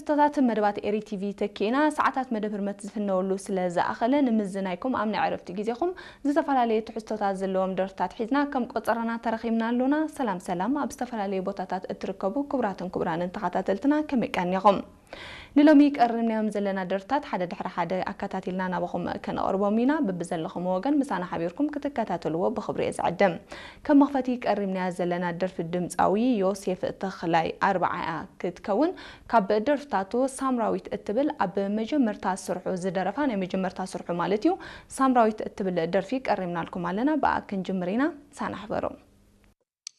ትሕዝቶታት መደባት ኤሪ ቲቪ ተኪእና፣ ሰዓታት መደብ ህርመት ዝፍነወሉ ስለ ዝኣኸለ፣ ንምዝናይኩም ኣብ ናይ ዕረፍቲ ግዜኹም ዝተፈላለየ ትሕዝቶታት ዘለዎም ደርፍታት ሒዝና ከም ቆጸራና ተረኺብና ኣሎና። ሰላም ሰላም፣ ኣብ ዝተፈላለየ ቦታታት እትርከቡ ክቡራትን ክቡራንን ተኸታተልትና ከመይ ቀኒኹም? ንሎሚ ቀሪብናዮም ዘለና ደርፍታት ሓደ ድሕሪ ሓደ ኣከታቲልና ናባኹም ከነቕርቦም ኢና። በብዘለኹም ወገን ምሳና ሓቢርኩም ክትከታተልዎ ብኽብሪ እየ ዝዕድም። ከም መኽፈቲ ቀሪብናያ ዘለና ደርፊ ድምጻዊ ዮሴፍ ተኽላይ ኣርብዓኣ ክትከውን፣ ካብ ደርፍታቱ ሳምራዊት እትብል ኣብ መጀመርታ ስርሑ ዝደረፋ፣ ናይ መጀመርታ ስርሑ ማለት እዩ፣ ሳምራዊት እትብል ደርፊ ቀሪብናልኩም ኣለና። ብኣ ክንጅምር ኢና። ሳና ሕበሩ።